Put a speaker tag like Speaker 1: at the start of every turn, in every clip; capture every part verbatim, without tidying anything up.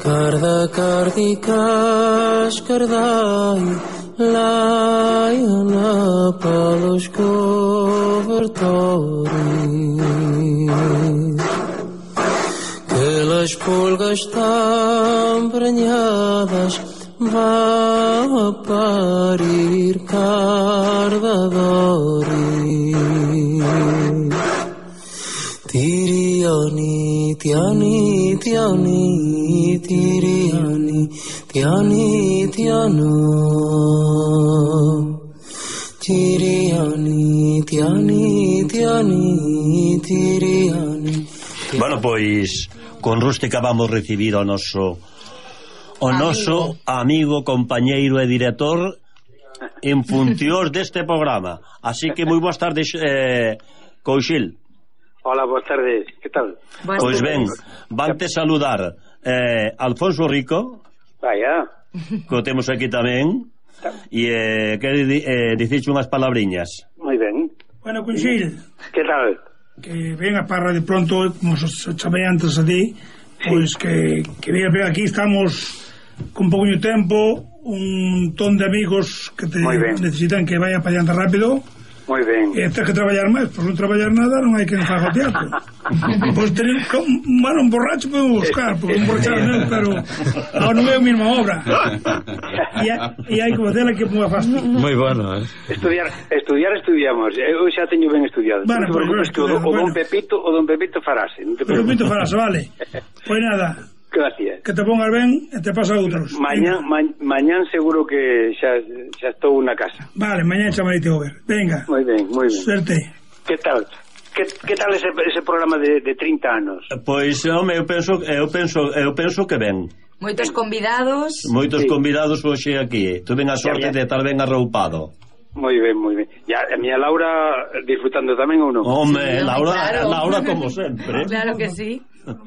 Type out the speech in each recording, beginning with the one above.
Speaker 1: Carda cardicas cardai laiana pelos cobertores, que las pulgas estão prenhadas, vão a parir cardadores. Tiriani, tiani, tiani, tiriani, tiani, tiano. Tiriani, tiani, tiani, tiriani.
Speaker 2: Bueno, pois con Rústica vamos recibir o noso o noso amigo, compañeiro e director en funcións deste programa. Así que moi boas tardes, eh, Couchil.
Speaker 3: Hola, boas tardes, que tal?
Speaker 2: Pois ben, vante saludar eh, Alfonso Rico.
Speaker 3: Vaya.
Speaker 2: Que o temos aquí tamén. E eh, quere eh, dicirche unhas palabriñas.
Speaker 3: Moi ben.
Speaker 4: Bueno, Couchil,
Speaker 3: que tal?
Speaker 4: Que venga para de pronto, como se chamei antes a ti, pois que, que venga, venga, aquí estamos con pouco tempo, un ton de amigos que te necesitan que vaya para allá rápido.
Speaker 3: Moi ben.
Speaker 4: E tens que traballar máis, pois non traballar nada non hai que faga o teatro. Pois tener, bueno, un borracho podemos buscar, porque un borracho non, pero non é a mesma obra. E hai que facela que ponga fácil.
Speaker 5: Moi bueno, eh.
Speaker 3: Estudiar, estudiar estudiamos. Eu xa teño ben estudiado.
Speaker 4: Bueno,
Speaker 3: non te preocupes que o, o don Pepito, o don Pepito farase. Non te preocupes.
Speaker 4: O Pepito farase, vale. Pois nada.
Speaker 3: Gracias.
Speaker 4: Que te pongas ben e te pasa outros.
Speaker 3: Mañán, ma, mañán seguro que xa, xa estou na casa.
Speaker 4: Vale, mañán chamarite over. Venga.
Speaker 3: Moi ben, moi ben.
Speaker 4: Suerte.
Speaker 3: Que tal? Que, que tal ese, ese programa de, de trinta anos?
Speaker 2: Pois, home, eu penso, eu penso, eu penso que ben.
Speaker 6: Moitos convidados.
Speaker 2: Moitos
Speaker 3: sí.
Speaker 2: convidados hoxe aquí. Tuve a sorte de estar ben arroupado.
Speaker 3: Moi ben, moi ben. Ya, a miña Laura disfrutando tamén ou non?
Speaker 2: Home,
Speaker 6: Sí,
Speaker 2: Laura,
Speaker 6: claro.
Speaker 2: Laura como sempre.
Speaker 6: Claro que sí.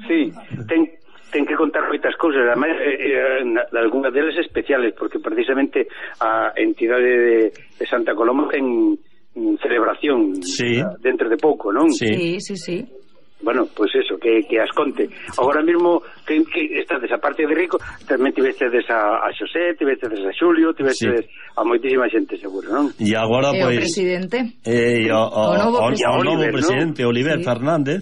Speaker 3: Sí, ten, ten que contar moitas cousas, además, eh, eh, algunhas delas especiales, porque precisamente a entidade de, de Santa Coloma ten celebración
Speaker 2: sí.
Speaker 3: dentro de pouco, non?
Speaker 6: Sí, sí, sí.
Speaker 3: Bueno, pois pues eso, que, que as conte. Agora mesmo que, que estades a parte de Rico, tamén tivestedes a, a Xosé, tivestedes a Xulio, tivestedes sí. a moitísima xente, seguro, non?
Speaker 2: E agora,
Speaker 6: e
Speaker 2: pois...
Speaker 6: o presidente.
Speaker 2: Eh, e o, o,
Speaker 6: o novo
Speaker 2: o,
Speaker 6: presidente,
Speaker 2: o novo
Speaker 3: Oliver,
Speaker 2: presidente, ¿no? Oliver sí. Fernández,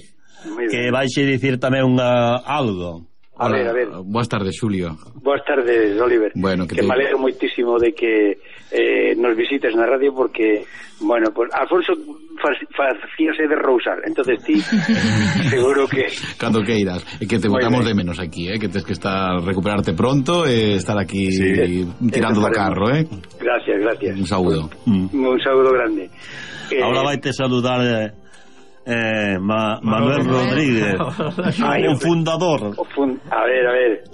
Speaker 2: que vaixe dicir tamén unha, algo.
Speaker 3: A ver, a ver.
Speaker 5: Boas tardes, Xulio.
Speaker 3: Boas tardes, Oliver.
Speaker 5: Bueno, que,
Speaker 3: que
Speaker 5: te...
Speaker 3: me alegro moitísimo de que eh, nos visites na radio, porque, bueno, pues Alfonso facíase de rousar, entonces ti seguro que
Speaker 5: cando queiras, e que te botamos de menos aquí, eh, que tens que estar recuperarte pronto e estar aquí sí, tirando do carro, eh.
Speaker 3: Gracias, gracias.
Speaker 5: Un saúdo.
Speaker 3: Un, un saúdo grande.
Speaker 2: Eh, Ahora vaite saludar eh, eh, Ma, Manuel Rodríguez,
Speaker 3: Ay,
Speaker 2: o fundador.
Speaker 3: O fun, a ver, a ver.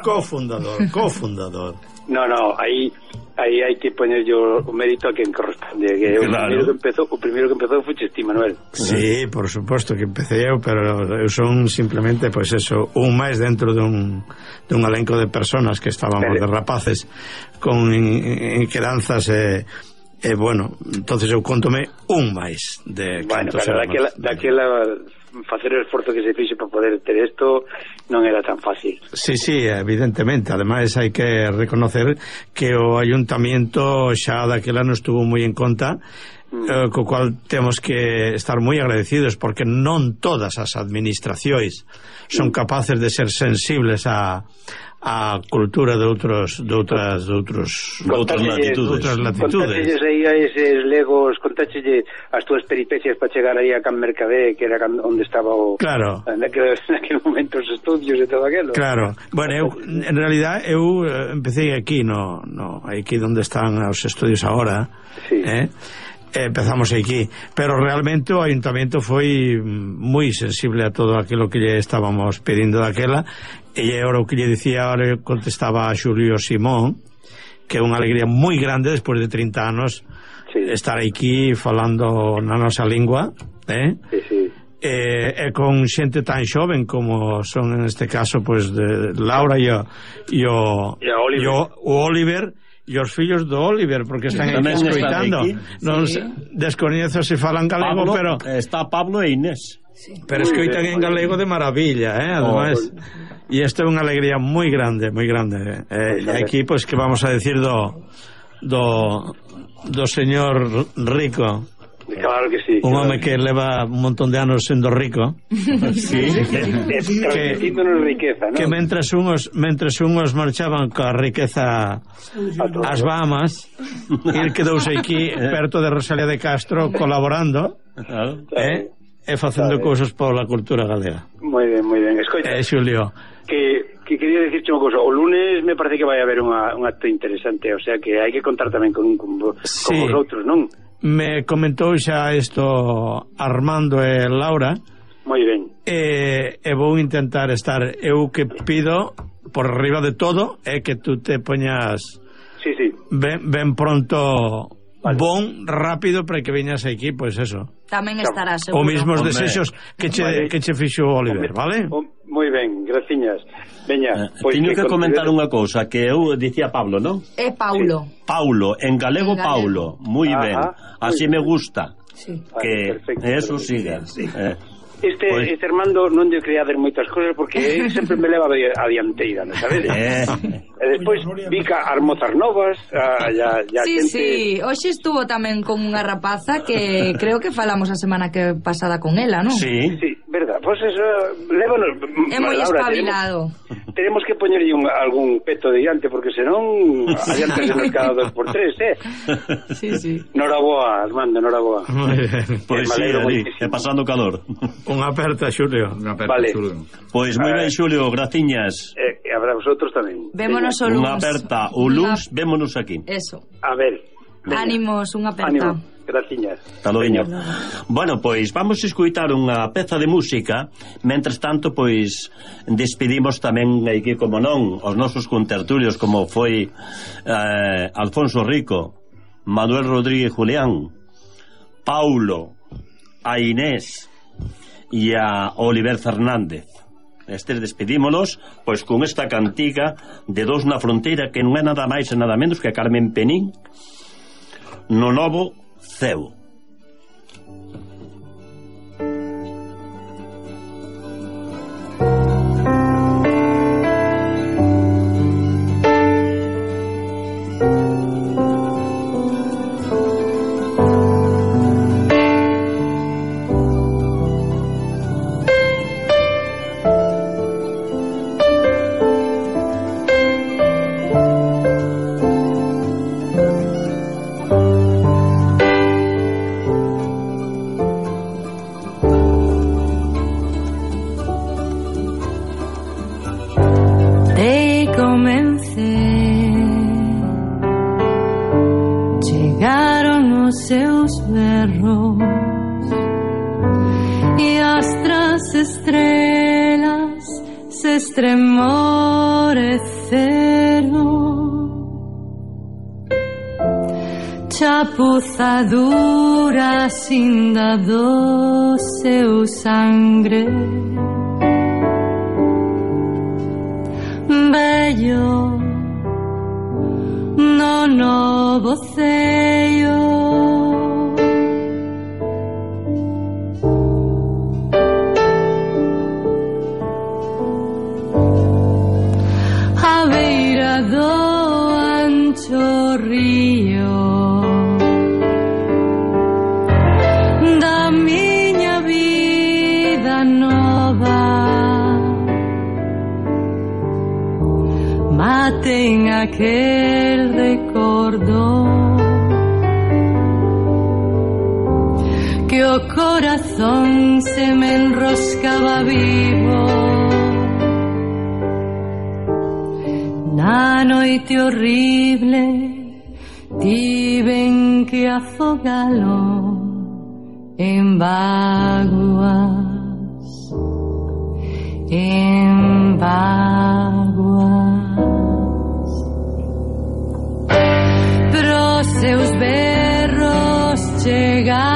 Speaker 7: Cofundador, cofundador.
Speaker 3: No, no, aí aí hai que poñer yo o mérito a quen corresponde, que claro. o primeiro que empezou, o primeiro que empezou foi ti, Manuel.
Speaker 7: Sí, por suposto que empecé eu, pero eu son simplemente, pois pues eso, un máis dentro dun, dun elenco de personas que estábamos pero... de rapaces con inquedanzas e E, bueno, entonces eu contome un máis de
Speaker 3: bueno, pero daquela, daquela facer o esforzo que se fixe para poder ter isto non era tan fácil.
Speaker 7: Sí, sí, evidentemente. Ademais hai que reconocer que o ayuntamiento xa daquela non estuvo moi en conta, mm. eh, co cual temos que estar moi agradecidos, porque non todas as administracións son capaces de ser sensibles a a cultura de outros de outras de outros de outras latitudes, outras latitudes.
Speaker 3: Contáchelles aí a eses legos, contáchelle as túas peripecias para chegar aí a Can Mercadé, que era onde estaba o
Speaker 7: claro.
Speaker 3: naquele, naquele momento os estudios e todo aquilo.
Speaker 7: Claro. Bueno, eu en realidad eu empecé aquí no no aquí onde están os estudios agora.
Speaker 3: Sí.
Speaker 7: Eh? Empezamos aquí, pero realmente o ayuntamiento foi moi sensible a todo aquilo que lle estábamos pedindo daquela, e agora o que lle dicía, ahora contestaba a Xulio Simón, que é unha alegría moi grande despois de trinta anos sí. estar aquí falando na nosa lingua, eh?
Speaker 3: Sí, sí.
Speaker 7: E, e con xente tan xoven como son en este caso pues de Laura e o, e o,
Speaker 3: e o Oliver,
Speaker 7: e o, o Oliver e os fillos do Oliver, porque están aquí escoitando. Non descoñezo se falan galego,
Speaker 2: Pablo,
Speaker 7: pero
Speaker 2: está Pablo e Inés.
Speaker 6: Sí.
Speaker 7: Pero escoitan en galego de maravilla, eh, además. E isto é unha alegría moi grande, moi grande. Eh, e aquí, pois, que vamos a decir do do do señor Rico.
Speaker 3: Claro que sí.
Speaker 7: Un
Speaker 3: claro.
Speaker 7: home que leva un montón de anos sendo rico.
Speaker 2: Sí.
Speaker 3: que, riqueza, ¿no?
Speaker 7: Que mentres unhos mentres unhos marchaban coa riqueza ás Bahamas, el quedouse aquí perto de Rosalía de Castro colaborando,
Speaker 2: Claro.
Speaker 7: eh, e facendo cousas pola cultura galega.
Speaker 3: Moi ben, moi ben. Escoita,
Speaker 7: Eh, Xulio,
Speaker 3: que, que quería dicirche unha cousa. O lunes me parece que vai haber unha, un acto interesante, o sea que hai que contar tamén con, con, con
Speaker 7: sí.
Speaker 3: vosotros, non?
Speaker 7: Me comentou xa isto Armando e Laura.
Speaker 3: Moi ben.
Speaker 7: E, e vou intentar estar. Eu que pido por arriba de todo é que tú te poñas
Speaker 3: sí, sí.
Speaker 7: ben, ben pronto,
Speaker 3: vale.
Speaker 7: bon, rápido, para que veñas aquí, pois pues eso.
Speaker 6: Tamén estará seguro.
Speaker 7: O mismos
Speaker 2: Hombre.
Speaker 7: desexos que che,
Speaker 3: Vale.
Speaker 7: que che fixo Oliver, vale?
Speaker 3: Oh, moi ben, graciñas. Veña,
Speaker 2: Eh,
Speaker 3: pois
Speaker 2: teño que, que comentar
Speaker 3: considero...
Speaker 2: unha cousa que eu dicía Pablo, non?
Speaker 6: É Paulo.
Speaker 2: Paulo, en galego,
Speaker 6: En galego.
Speaker 2: Paulo, moi
Speaker 3: Ajá,
Speaker 2: ben. Así
Speaker 3: muy
Speaker 2: me
Speaker 3: bien.
Speaker 2: gusta.
Speaker 6: Sí.
Speaker 3: Vale,
Speaker 2: Que
Speaker 3: perfecto,
Speaker 2: eso
Speaker 3: perfecto.
Speaker 2: sigue.
Speaker 3: Sí.
Speaker 2: Eh,
Speaker 3: Este,
Speaker 2: Pois-
Speaker 3: este Armando non lle quería dar moitas cousas porque ele sempre me leva a dianteira, non sabes?
Speaker 2: eh,
Speaker 3: E despois Vica armozas novas, a, ya, ya
Speaker 6: Sí,
Speaker 3: xente...
Speaker 6: sí, hoxe estuvo tamén con unha rapaza que creo que falamos a semana que pasada con ela, non?
Speaker 2: sí.
Speaker 3: Sí, verdad, pois pues eso, lévanos...
Speaker 6: É moi
Speaker 3: Laura,
Speaker 6: espabilado.
Speaker 3: Tenemos, tenemos que poñerlle un, algún peto de diante, porque senón adiante se nos cada dos por tres, eh?
Speaker 6: Sí, sí.
Speaker 3: Noraboa, Armando, noraboa.
Speaker 7: Moi ben.
Speaker 2: Pois
Speaker 3: Me
Speaker 2: sí,
Speaker 3: alegro
Speaker 2: ali,
Speaker 3: moitísimo.
Speaker 2: e pasando calor.
Speaker 7: Unha aperta, Xulio.
Speaker 5: Unha aperta,
Speaker 3: Vale.
Speaker 5: Xulio.
Speaker 2: Pois moi ben,
Speaker 3: Eh.
Speaker 2: Xulio, graciñas.
Speaker 3: Eh, e habrá vosotros tamén.
Speaker 6: Vémonos o
Speaker 2: Unha
Speaker 6: luns.
Speaker 2: aperta, o luns, vémonos aquí.
Speaker 6: Eso.
Speaker 3: A ver. Venga.
Speaker 6: Ánimos, unha aperta.
Speaker 3: Ánimo, graciñas.
Speaker 2: Hasta logo. Bueno, pois vamos a escutar unha peza de música. Mentres tanto, pois despedimos tamén aquí, como non, os nosos contertulios, como foi eh, Alfonso Rico, Manuel Rodríguez Julián, Paulo, a Inés e a Oliver Fernández. Estes despedímonos pois con esta cantiga de Dos na Fronteira, que non é nada máis e nada menos que Carmen Penín, No Novo Ceo.
Speaker 8: Te comencé, chegaron os seus berros e as tras estrelas se estremoreceron, chapuzadura cinda do seu sangre. Bello no novo ceo, a beira do ancho río da miña vida nova. Maten aquel recordo que o corazón se me enroscaba vivo na noite horrible. Tiven que afogalo en vaguas, en vaguas. Pros seus berros chegar